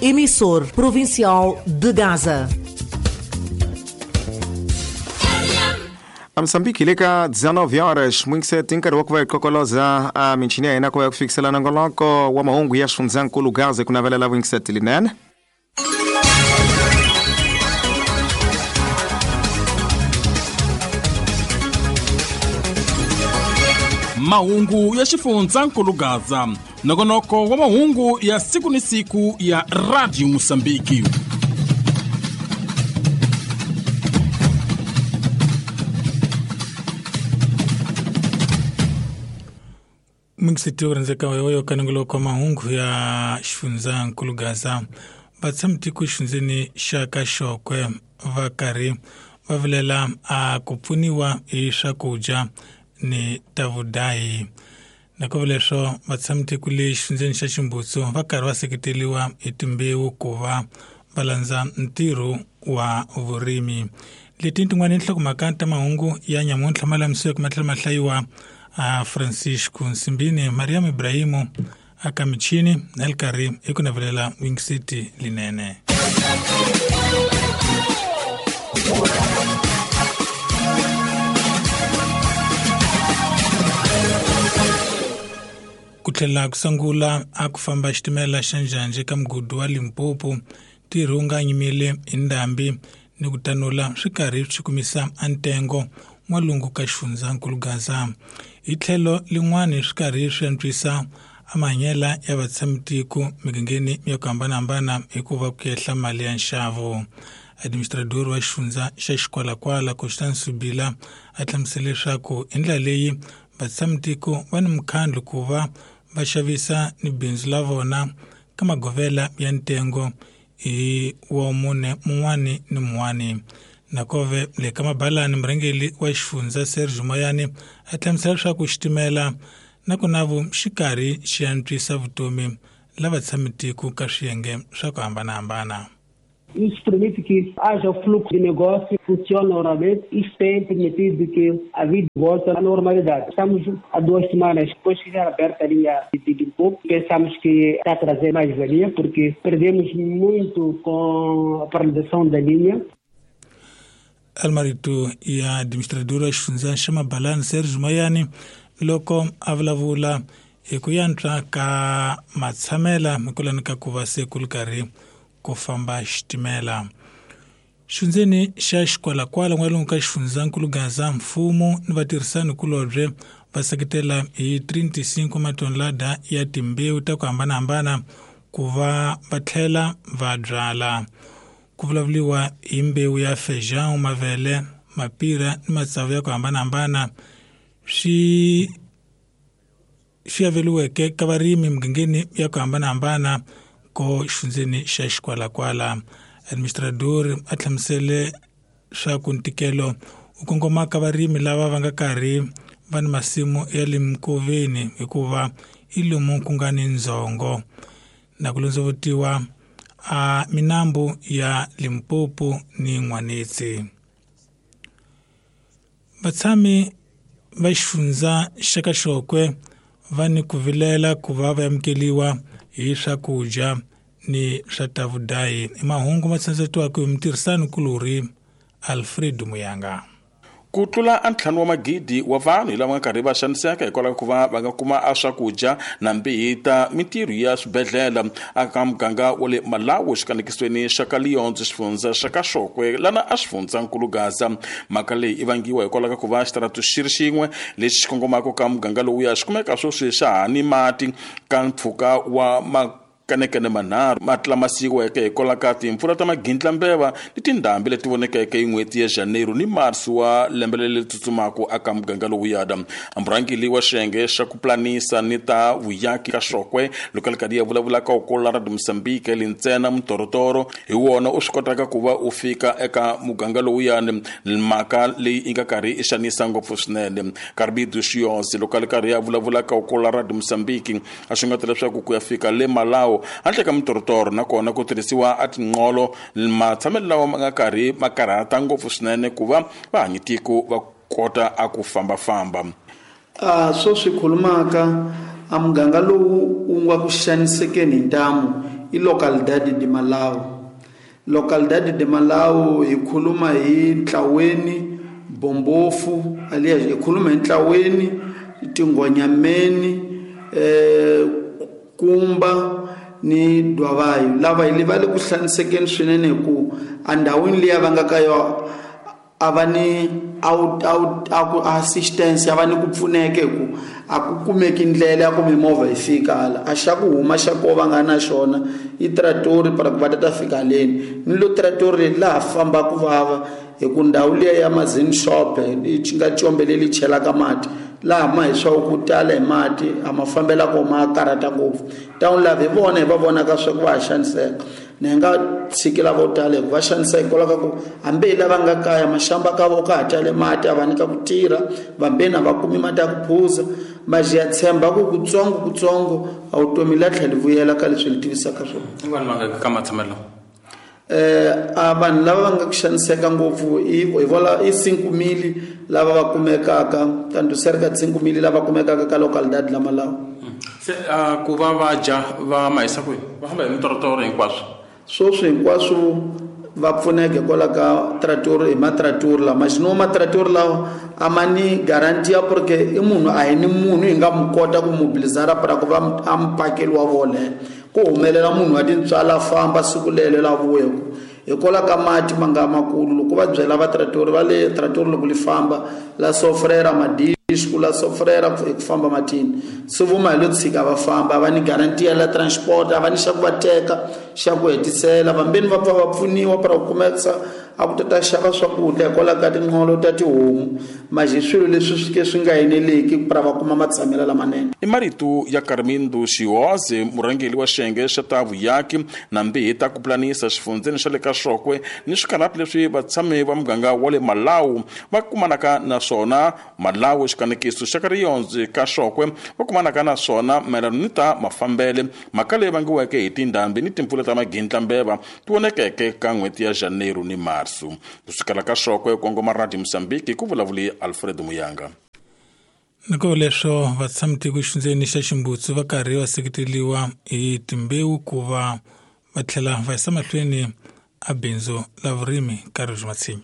Emissor provincial de Gaza. A Moçambique le ka 19 horas mwingiseti nkarhi wa ku va hi kokoloza a michini ya hina ku va ya ku fikisela nongoloko wa mahungu ya xifundzankulu Gaza ku navelela vuyingiseti linene. Mahungu ya xifundzankulu Gaza, nongonoko wa mahungu ya siku ni siku ya Radio Mosambiki. Mingiseti yo rhandzeka yoyo ka nongoloko wa mahungu ya xifundzankulu Gaza. Vatshamitiko exifundzeni xa ka Xokwe va karhi va vilela a ku pfuniwa hi swakudya ni ta vudahi. Nakove leswo vatshamitiko le xifundzeni xa Ximbutsu va karhi va seketeriwa hi timbewu ku va va landza ntirho wa vurimi. Leti tin'wana nhlokomhaka ta mahungu ya nyamuntlha ma lamisiweke ma tlhela ma hlayiwa a Francisco Nsimbini, Mariam Ibrahimu aka michini na le karhi hi ku navelela Wing City linene. Ku tlhela ku sungula a ku famba xitimela xa njhanje ka mugodi wa Limpopo, ntirho wu nga nyimile hi ndhambi ni ku tanula swi karhi swi kumisa a ntengo n'walungu ka xifundzankulu Gaza. Hi tlhelo lin'wani swi karhi swi antswisa a mahanyela ya vatshamitiko migangeni ya ku hambanahambana hikuva ku yehla mali ya nxavo. Administrador wa xifundza xa Xikwalakwala Constance Subila a hlamusele leswaku hi ndlela leyi vatshamitiko va ni mukhandlu ku va va xavisa ni bindzu la vona ka magovela ya ntengo hi wa mune mun'wani ni mun'wani. Nakove le ka mabalani murhangeri wa xifundza Sergio Moyani a hlamusela leswaku xitimela na ku navu xi karhi xi antswisa vutomi la vatshamitiko ka swiyenge swa ku hambanahambana. Isso permite que haja fluxo de negócio, funcione normalmente. Isso tem permitido que a vida volte à normalidade. Estamos há 2 semanas depois que já aberta a linha de Limpopo. Pensamos que está a trazer mais valia, porque perdemos muito com a paralisação da linha. Almarito ya administradora xifundza xa Mabalani Sergio Moyani loko a vulavula hi ku yantswa ka matshamela mikulani ka ku va se ku ri karhi ku famba xitimela. Xifundzeni xa Xikwalakwala n'walungu ka xifundzankulu Gaza, mfumo ni vatirhisani kulobye va seketela hi 35 matonelada ya timbewu ta ku hambanahambana ku va va tlhela va byala. Ku vulavuriwa hi mbewu ya feijão, mavele, mapira ni matsavu ya ku hambanahambana swi aveliweke ka varimi migangeni ya ku hambanahambana ko xifundzeni xa Xikwalakwala. Administrador a hlamusele swa ku ntikelo wu kongoma ka varimi lava va nga karhi va ni masimu ya le mikoveni hikuva i lomu ku nga ni ndzhongo na ku londzovutiwa a minambu ya Limpopo ni N'wanetsi. Vatshami va xifundza xa ka Xokwe va ni ku vilela ku va va amukeliwa hi swakudya ni swa ta vudahi. I mahungu ma tsandzetiwaka hi mutirhisani kulorhi Alfred Muyanga. Ku tlula a 5 wa magidi wa vanhu hi lava nga karhi va xaniseka hikwalaho ku va va nga kuma a swakudya na mbihi ta mintirho ya swibedhlele aka muganga wa le Malawi xikanekisweni xa ka Liyondzo xifundza xa ka Xokwe lana a xifundzankulu Gaza. Mhaka leyi i vangiwa hikwalaho ka ku va xitaratu xi ri xin'we lexi xi kongomaka ka muganga lowuya xi kumeka sweswi xa ha ni mati ka mpfhuka wa kanekene manharhu mati lama siyiweke hikwalaho ka timpfula ta magindlambeva ni tindhambi leti vonekeke hi n'hweti ya Janeiro ni Marsi wa lembe leri tsutsumaka aka muganga lowuyada. Murhangeri wa xiyenge xa ku planisa ni ta vuyaki ka Xokwe loko ali karhi ya vulavula ka Okola Radio Mozambique lintsena mutorotoro hi wona u swi kotaka ku va u fika eka muganga lowuyani. Mhaka leyi yi nga karhi i xanisa ngopfu swinene. Karbidu Xiyosi loko ali karhi ya vulavula ka Okola Radio Mozambique a xungeta leswaku ku ya fika le Malawi handle ka mitorotoro nakona ku tirhisiwa a tinqolo matshamelo lawa ma nga karhi ma karhata ngopfu swinene ku va vahanyitiko va kota a ku fambafamba. Swo swi khulumaka a muganga lowu wu nga ku xanisekeni hi ntamu I localidade de Malau. Localidade de Malau hi khuluma hi Ntlaweni, Bombofu, alias hi khuluma hi Ntlaweni, Tingwanyameni, Kumba ni Dwavayo. Lava hi va le ku hlanisekeni swinene hi ku endhawini liya va nga ka yona a va ni assistance, a va ni ku pfuneka hi ku a ku kumeki ndlela ya ku mimovha yi fika hala. A xa ku huma xa ko va nga na xona i tratori para ku va ta fika haleni. Ni lo tratori laha famba ku vava hi ku ndhawu liya ya Mazini shop yi nga combe leri chelaka mati laha ma hi swa ku tala hi mati a ma fambela ko ma karhata ngopfu. Town lava hi vona hi va vonaka swa ku va ha xaniseka. Ni nga tshiki lavo tala hi ku va xaniseka hikwalaho ka ku hambi hi lava nga kaya maxamba ka vo ka ha tale mati a va nyika ku tirha, vambeni a va kumi mati ya ku phuza. Maji ya tshemba ku kutsongo kutsongo a vutomi la tlhela vuyela ka leswi li tivisaka swona. I vanhu va nga ka matshamelo? A vanhu lava va nga ku xaniseka ngopfu i vola i 5,000 lava va kumekaka, tanto cerca de 5,000 lava kumekaka ka localidade la Malau. Se ku va va dya va ma yisa kwihi? Va famba hi mitorotoro hinkwaswo? Sweswi hinkwaswo va pfuneka hikwalaho ka tratori, hi matratori lama. Xino matratori lawa a ma ni guarantee ya porque i munhu a hi ni munhu hi nga mu kota ku mobilizara para ku va a mupakeli wa vona. Ku humelela munhu wa tintswalo a famba siku lelo la vuya hikwalaho ka mati ma nga makulu. Loko va byela va tratori va le tratori loko li famba la sofrera madisku la sofrera hi ku famba matini, se vuma hi lo tshika va famba. Va ni guarantee ya la transport, a va ni xa ku va teka xa ku hetisela. Vambeni va pfa va pfuniwa para ku kumekisa a ku ta xava swakudya hikwalaho ka tinqolo ta tihomu. Maji swilo leswi swi ke swi nga eneleki para va kuma matshamelo lamanene. I marito ya Carmindo Xioze, murhangeri wa xiyenge xa ta vuyaki na mbihi ta ku pulanisa xifundzeni xa le ka Xokwe ni swikarhati leswi vatshami va muganga wa le Malau va kumanaka na swona. Malau xikanekiso xa ka Riyonzi ka Xokwe va kumanaka na swona mayelana ni ta mafambele, mhaka leyi vangiweke hi tindhambi ni timpfula ta magindlambeva ti vonekeke ka n'hweti ya Janeiro ni Marso. Kusukela ka Xokwe kongoma Radio Mozambique, ku vulavuli Alfred Muyanga. Nako leswo vatshami-tiko xifundzeni xa Ximbutsu va karhi va seketeriwa hi timbewu ku va va tlhela va yisa mahlweni a bindzu la vurimi ka Rizwi Matshinya.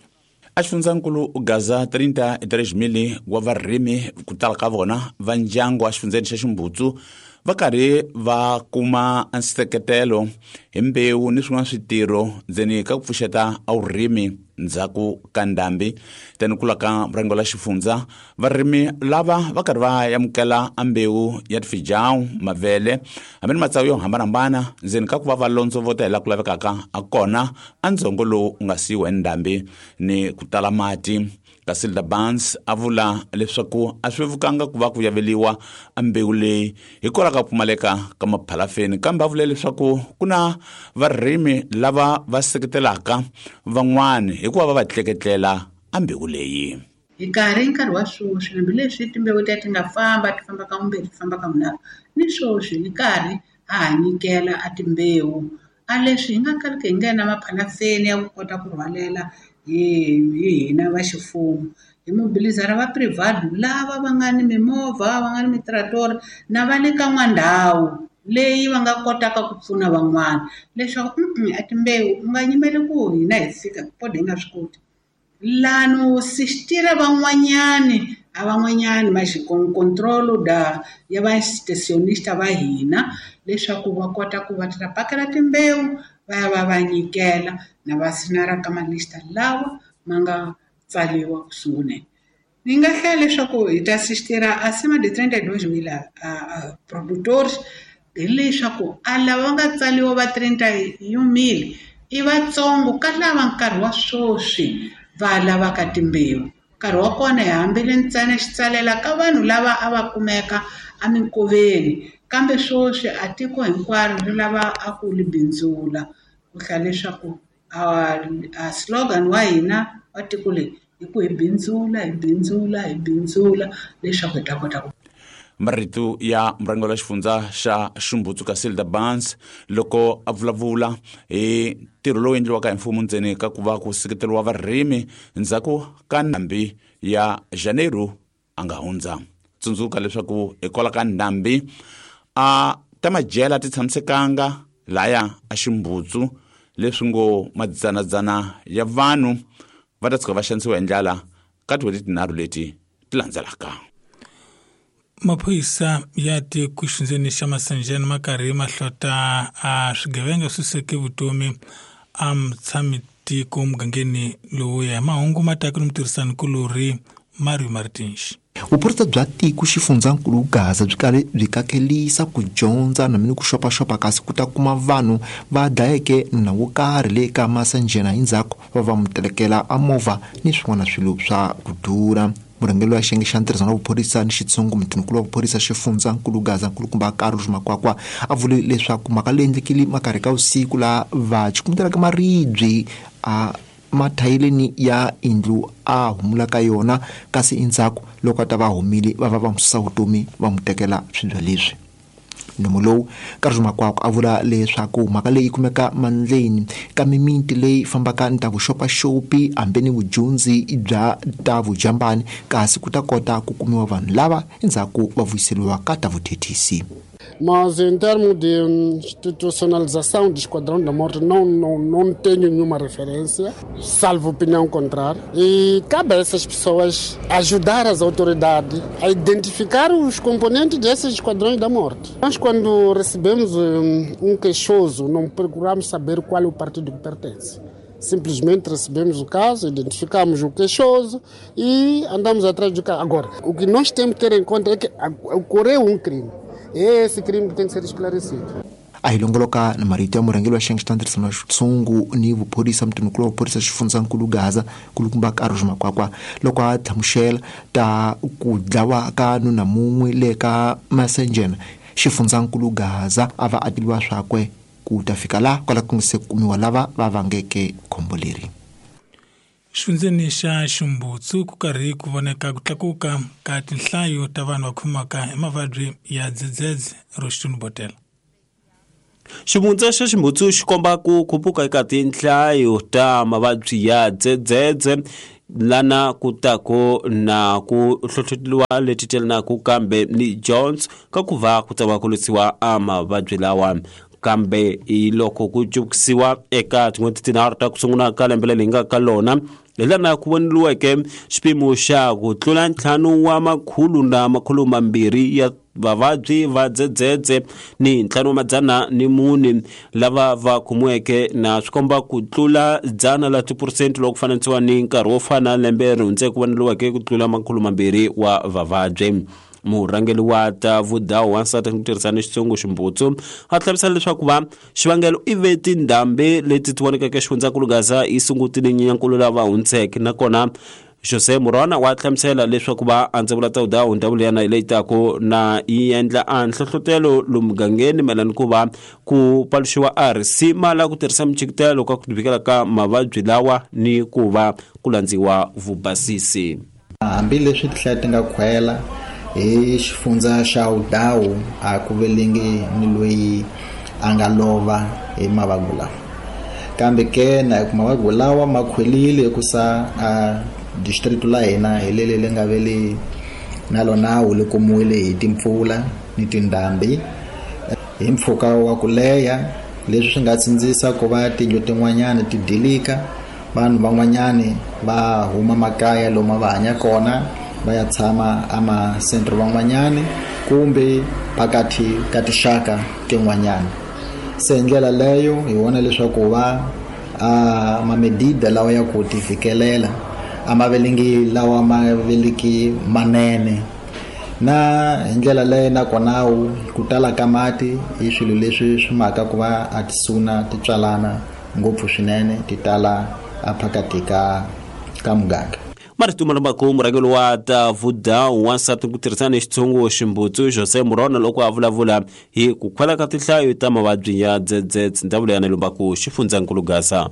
A xifundzankulu Gaza 33,000 wa varimi ku tala ka vona va ndyangu a xifundzeni xa Ximbutsu va karhi va kuma nseketelo hi mbewu ni swin'wana switirho ndzeni ka ku pfuxeta a vurimi ndzhaku ka ndhambi. Tani kula ka murengo la xifundza, varimi lava va karhi va amukela a mbewu ya tifijawu, mavele hambi ni matsavu yo hambanahambana ndzeni ka ku va va londzovota hi laha ku lavekaka a kona a ndzhongo lowu u nga siyiwa hi ndhambi ni ku tala mati. Casilda Barnes a vula leswaku a swi vevukanga ku va ku yaveliwa a mbewu leyi hikwalaho ka ku pfumaleka ka maphalafeni, kambe a vule leswaku ku na varimi lava va seketelaka van'wani hikuva va va tleketlela a mbewu leyi. Hi nkarhi wa sweswi, hambileswi timbewu ta ti nga famba ti famba ka vumbirhi ti famba ka vunharhu, ni sweswi hi karhi ha ha nyikela a timbewu. A leswi hi nga kaliki hi nghena maphalafeni ya ku kota ku rhwalela hi hina va ximfumo, hi mobilizara va private lava va nga ni mimovha, va nga ni mitratori na va le ka n'wandhawu leyi va nga kotaka ku pfuna van'wana leswaku a timbewu u nga yimeli ku hina hi fika kode hi nga swi koti. Lano sistira van'wanyani a van'wanyani ma control da ya va stationista va hina leswaku va kota ku va ta pakela timbewu va ya va va nyikela na va sinara ka malista lawa ma nga tsariwa ku sunguleni. Ni nga hlaya leswaku hi ta sistira acima de 32,000 a produtores hileswaku a lava va nga tsariwa va 31,000 i vatsongo ka lava nkarhi wa sweswi va lavaka timbewu. Nkarhi wa kona hi hambile ntsena xi tsalela ka vanhu lava a va kumeka eminkoveni, kambe sweswi a tiko hinkwaro ri lava a ku li bindzula. Ku hlaya leswaku a slogan wa hina wa tiko leri i ku hi bindzula, hi bindzula, hi bindzula leswaku hi ta kota ku. Marito ya murhangeri wa xifundza xa Ximbutsu Casilda Barnes loko a vulavula hi ntirho lowu endliwaka hi mfumo ndzeni ka ku va ku seketeriwa varimi ndzhaku ka ndhambi ya Janeiro a nga hundza. Tsundzuka leswaku hikwalaho ka ndhambi a ta madyela ti tshamisekanga laya a Ximbutsu leswi ngo madzanadzana ya vanhu va ta tshuka va xanisiwa hi ndlala ka tin'hweti tinharhu leti ti landzelaka. Maphorisa ya tiko xindzeni xa Masanjana ma karhi ma hlota a swigevenga swi seke vutomi a mutshami tiko mugangeni lowuya. Mahungu ma taka ni mutirhisani kulorhi Mario Martins. Vuphorisa bya tiko xifundzankulu Gaza byi kale byi kakelisa ku dyondza na mini ku xopaxopa kasi ku ta kuma vanhu va dlayeke nuna wo karhi le ka Masanjana hi ndzhaku va va mu telekela a movha ni swin'wana swilo swa ku durha. Murhangeri wa xiyenge xa ntirhisano wa vuphorisa ni xitshungu mutinkulu wa vuphorisa xifundzankulu Gaza nkulukumba Carlos Makwakwa a vule leswaku mhaka leyi endlekile makarhi ka vusiku laha va cukumetelaka maribye a mathayeleni ya indlu a humula ka yona kasi endzhaku loko a ta va humile va va va n'wi susa vutomi va n'wi tekela swibya leswi. Nomo lowu Carlos Makwakwa a vula leswaku mhaka leyi kumeka mandleni ka mimiti leyi fambaka ni ta vuxopaxopi hambi ni vudyondzi bya ta vujambani kasi ku ta kota ku kumiwa vanhu lava endzhaku va vuyiseriwa ka ta vuthethisi. Mas em termos de institucionalização do Esquadrão da Morte, não tenho nenhuma referência, salvo opinião contrária. E cabe a essas pessoas ajudar as autoridades a identificar os componentes desses Esquadrões da Morte. Nós, quando recebemos um queixoso, não procuramos saber qual é o partido que pertence. Simplesmente recebemos o caso, identificamos o queixoso e andamos atrás do caso. Agora, o que nós temos que ter em conta é que ocorreu um crime. É esse crime que tem que ser esclarecido. A hi longoloka na marito ya murhangeri wa xiyenge xa ntirhisano wa xitshungu ni vuphorisa mutinkulu wa vuphorisa xifundzankulu Gaza nkulukumba Carlos Makwakwa loko a hlamusela ta ku dlawa ka nuna mun'we le ka Masanjana xifundzankulu Gaza a va atiliwa swakwe ku ta fika laha kwala ku nga se kumiwa lava va vangeke khombo leri. Xifundzeni xa Ximbutsu ku karhi ku voneka ku tlakuka ka tinhlayo ta vanhu va khomaka hi mavabyi ya dzedzedze ro xitunu-botela. Xivundza xa Ximbutsu xi komba ku khuphuka eka tinhlayo ta mavabyi ya dzedzedze lana ku tako na ku hlohloteliwa leti telanaka kambe ni Jones ka ku va ku ta va ku lwisiwa a mavabyi lawa. Kambe hi loko ku cukisiwa eka tin'hweti tinharhu ta ku sungula ka lembe leri hi nga ka lona hi lana ku voneliweke xipimo xa ku tlula 5,200 ya vavabyi va dzedzedze ni 504 lava va khomiweke na swi komba ku tlula 100% loko ku fananisiwa ni nkarhi wo fana lembe ri hundzeke ku voneliweke ku tlula 200 wa vavabyi. Murhangeri wa ta vudawu wansati ku tirhisana xitsongo Ximbutsu a hlamusela leswaku va xivangelo i ve tindhambi leti ti vonekeke xifundzankulu Gaza yi sungutile Nyenyankulu lava hundzeke nakona Jose Murona wa hlamusela leswaku va andzavula ta vudawu ndhawu liyana leyi taku na yi endla a nhlohlotelo lomu mugangeni mayelana ku va ku paluxiwa a risima la ku tirhisa michikitelo ka ku tivikela ka mavabyi lawa ni ku va ku landziwa vubasisi. Hambileswi tinhlayo ti nga khwela hi xifundza xa Udawu a ku velengi ni loyi a nga lova hi mavabyi lawa kambe ke na hi ku mavabyi lawa ma khwelile ku sa a district la hina hi lele le nga vele na lona wu le kumiwile hi timpfula ni tindhambi hi mpfhuka wa ku leha leswi swi nga tsindzisa ku va tindlu tin'wanyana ti dilika vanhu van'wanyani va huma makaya lomu va hanya kona va ya tshama ama-centro van'wanyani kumbe phakathi ka tinxaka tin'wanyana. Se hi ndlela leyo hi vona leswaku va a mamedida lawa ya ku ti fikelela a ma velengi lawa ma veliki manene na hi ndlela leyo nakona ku tala ka mati i swilo leswi swi maka ku va a tisuna ti tswalana ngopfu swinene ti tala a phakathi ka muganga. Marito malambako murhangeri wa ta vudawu wansati ku tirhisana xitsongo Ximbutsu Jose Murona loko a vulavula hi ku khwela ka tinhlayo ta mavabyi ya dzedzedze ndhawu leyi lombako xifundzankulu Gaza.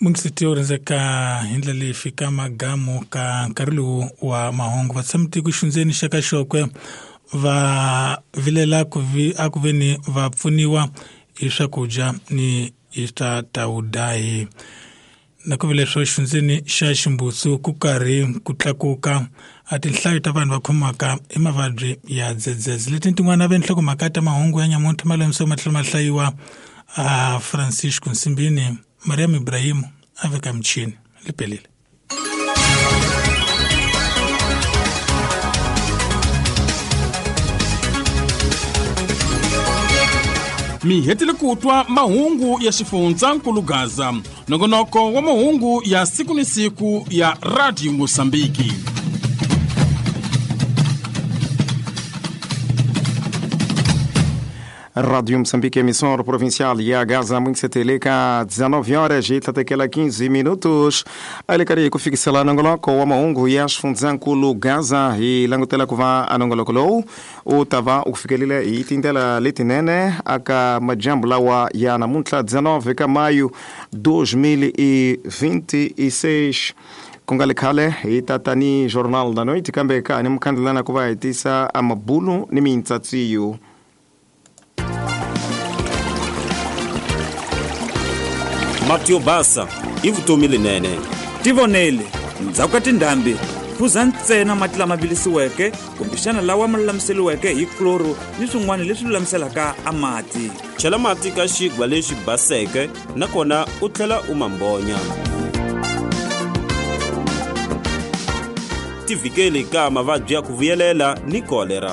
Mungisiti u rhandzeka hi ndlela leyi fika magamu ka nkarhi lowu wa mahungu. Vatshami tiko xindzeni xa ka Xokwe va vilela a ku veni va pfuniwa hi swakudya ni hi ta tawudahi. Na ku vile swo xindzeni xa Ximbutsu ku karhi ku tlakuka a tinhlayo ta vanhu va khomiwaka hi mavabyi ya dzedzedze. Leti tin'wana ve nhlokomhaka ta mahungu ya nyamuntlha malamisoko ma tlhela ma hlayiwa a Francisco Nsimbini, Mariam Ibrahimu a veka michini lipelile. Mi hetile ku twa mahungu ya xifundzankulu Gaza, nongonoko wa mahungu ya siku ni siku ya Radio Mosambiki. Rádio Moçambique, emissora provincial ya Gaza, muito 19 horas e 15 minutos. Ali kufikisela nongoloko wa mahungu ya xifundzankulu Gaza hi langutela ku va a nongoloko lowu u ta va u fikelile hi tindlela letinene aka majambu lawa ya namuntlha 19 ka maio 2026. Ku nga le khale hi tata ni Jornal da Noite, kambe ka ni mukhandlelana ku va hi tisa amabulu ni mintsatsiyo. Mati yo basa i vutomi lenene. Tivonele, ndzhaku ka tindhambi, phuza ntsena mati lama vilisiweke kumbexana lawa ma lulamiseriweke hi kloro ni swin'wana leswi lulamiselaka a mati. Chela mati ka xigwa lexi baseke nakona u tlhela u ma mbonya. Tivikeli ka mavabyi ya ku vuyelela ni kolera.